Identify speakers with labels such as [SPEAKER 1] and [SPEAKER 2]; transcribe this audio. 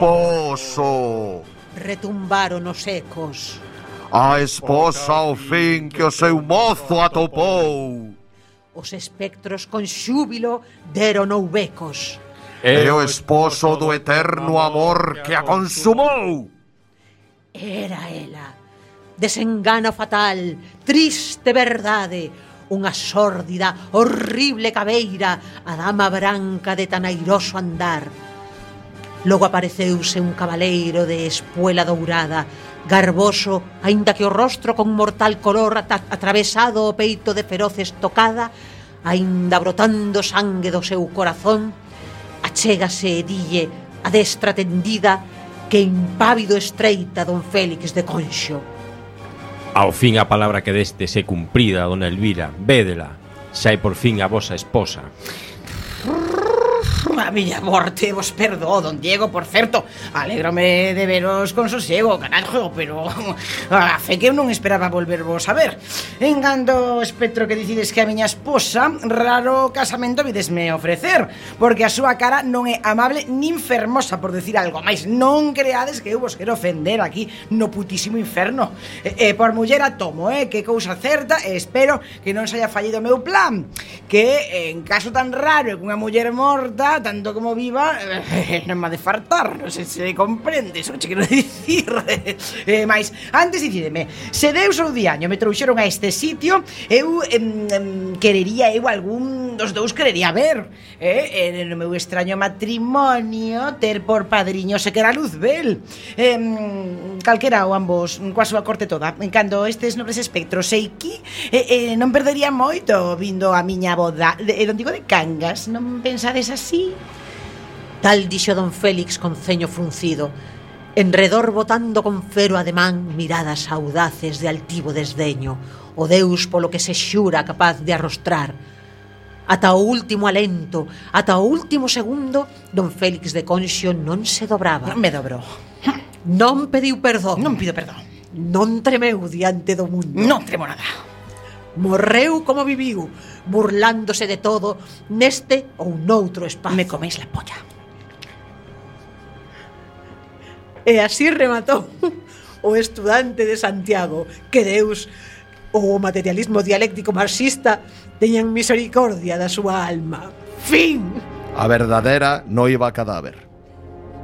[SPEAKER 1] esposo!
[SPEAKER 2] Retumbaron os ecos.
[SPEAKER 1] A esposa ao fin que o seu mozo atopou!
[SPEAKER 2] Os espectros con xúbilo deron oubecos.
[SPEAKER 1] É o esposo do eterno amor que a consumou!
[SPEAKER 2] Era ela. Desengano fatal, triste verdade, unha sórdida, horrible cabeira, a dama branca de tan airoso andar. Logo apareceuse un cabaleiro de espuela dourada, garboso, aínda que o rostro con mortal color atravesado o peito de feroz estocada, aínda brotando sangue do seu corazón, achégase e dille a destra tendida que impávido estreita don Félix de Conxo.
[SPEAKER 3] Ao fin a palabra que deste se cumprida, dona Elvira, védela, xa é por fin a vosa esposa.
[SPEAKER 4] A miña morte vos perdo, don Diego, por certo. Alégrome de veros con sosiego, carajo, pero a fe que eu non esperaba volvervos a ver. En cando espectro que dicides que a miña esposa, raro casamento videsme ofrecer, porque a súa cara non é amable nin fermosa, por decir algo máis. Non creades que eu vos quero ofender aquí no putísimo inferno. Por muller a tomo, que cousa certa, e espero que non se haya fallido o meu plan, que en caso tan raro que unha muller morta, tanto como viva, non me ha de fartar. Non sei se comprendes o que quero dicir. Mais, antes dicideme, se Deus ou diaño me trouxeron a este sitio, eu querería eu algún dos dous querería ver, no meu extraño matrimonio ter por padriño se que era Luzbel, calquera ou ambos, coa súa corte toda. Cando estes nobres espectros seiqui, non perdería moito vindo a miña boda. Non digo de Cangas, non pensades así?
[SPEAKER 2] Tal dixo don Félix con ceño fruncido, enredor botando con fero ademán miradas audaces de altivo desdeño, o Deus polo que se xura capaz de arrostrar. Ata o último alento, ata o último segundo, don Félix de Conxo non se dobraba.
[SPEAKER 4] Me dobrou.
[SPEAKER 2] Non pediu perdón.
[SPEAKER 4] Non pido perdón.
[SPEAKER 2] Non tremeu diante do mundo.
[SPEAKER 4] Non tremo nada.
[SPEAKER 2] Morreu como viviu, burlándose de todo neste ou noutro espazo.
[SPEAKER 4] Me coméis la polla.
[SPEAKER 2] E así rematou o estudante de Santiago, que Deus ou o materialismo dialéctico marxista teñan misericordia da súa alma. Fin.
[SPEAKER 1] A verdadeira noiva cadáver.